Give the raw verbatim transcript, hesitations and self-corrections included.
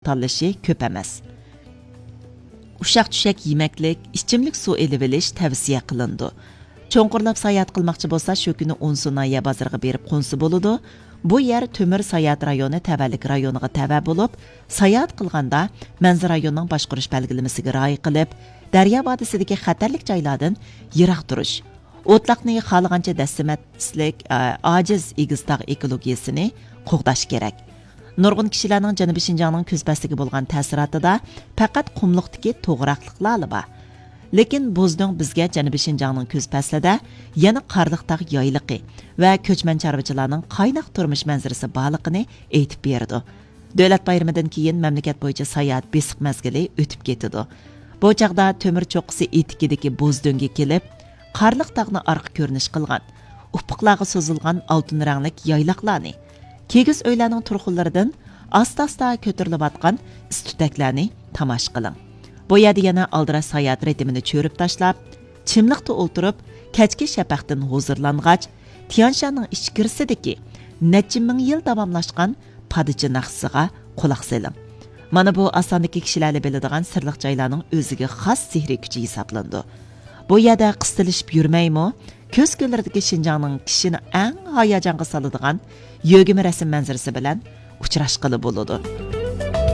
تاللىشى كۆپ ئەمەس. ئۇششاق-چۈششەك يېمەكلىك، ئىچىملىك سۇ ئېلىۋېلىش تەۋسىيە قىلىنىدۇ. چوڭقۇرلاپ ساياھەت قىلماقچى بولسا، شۇ كۈنى ئونسۇ ناھىيە بازىرىغا بېرىپ قونسا بولىدۇ. بۇ يەر تۆمۈر ساياھەت رايونى تەۋەلىك رايونىغا تەۋە بولۇپ، ساياھەت قىلغاندا مەنزىرە رايونىنىڭ باشقۇرۇش بەلگىلىمىسىگە رىئايە قىلىپ، دەريا ۋادىسىدىكى خەتەرلىك جايلاردىن يىراق تۇرۇش، ئوتلاقنى خالىغانچە دەسسىمەتسىلىك، ئە، ئاجىز ئېگىز تاغ ئېكولوگىيىسىنى قوغداش كېرەك. نۇرغۇن كىشىلەرنىڭ جەنۇبىي شىنجاڭنىڭ كۈز پەسلىگە بولغان تەسىراتىدا پەقەت قۇملۇقتىكى توغراقلىقلارلا بار. لېكىن بوزدۆڭ بىزگە جەنۇبىي شىنجاڭنىڭ كۈز پەسلىدە يەنە قارلىق تاغ يايلىقى ۋە كۆچمەن چارۋىچىلارنىڭ قايناق تۇرمۇش مەنزىرىسى بارلىقىنى ئېيتىپ بېرىدۇ. دۆلەت بايرىمىدىن كېيىن مەملىكەت بويىچە ساياھەت بېسىق مەزگىلى ئۆتۈپ كېتىدۇ. بۇ چاغدا تۆمۈر چوققىسى ئېتىكىدىكى بوزدۆڭگە كېلىپ، قارلىق تاغنى ئارقا كۆرۈنۈش قىلغان، ئۇپۇقلارغا سوزۇلغان ئالتۇن رەڭلىك يايلاقلارنى، كىگىز ئۆيلەرنىڭ تۇرخۇنلىرىدىن ئاستا-ئاستا كۆتۈرۈلۈۋاتقان ئىس-تۈتەكلەرنى تاماشا قىلىڭ. بۇ يەردە يەنە ئالدىراش ساياھەت رىتىمىنى چۆرۈپ تاشلاپ، چىملىقتا ئولتۇرۇپ، كەچكى شەپەقتىن ھۇزۇرلانغاچ، تيانشاننىڭ ئىچكىرىسىدىكى نەچچە مىڭ يىل داۋاملاشقان پادىچى ناخشىسىغا قۇلاق سېلىڭ. مانا بۇ ئاساندىكى كىشىلەرلا بىلىدىغان سىرلىق جايلارنىڭ ئۆزىگە خاس سېھرىي كۈچى ھېسابلىنىدۇ. بۇ يەردە قىستىلىشىپ يۈرمەيمۇ، كۆز كۆللىرىدىكى شىنجاڭنىڭ كىشىنى ئەڭ ھاياجانغا سالىدىغان يۆگىمە رەسىم مەنزىرىسى بىلەن ئۇچراشقىلى بولىدۇ.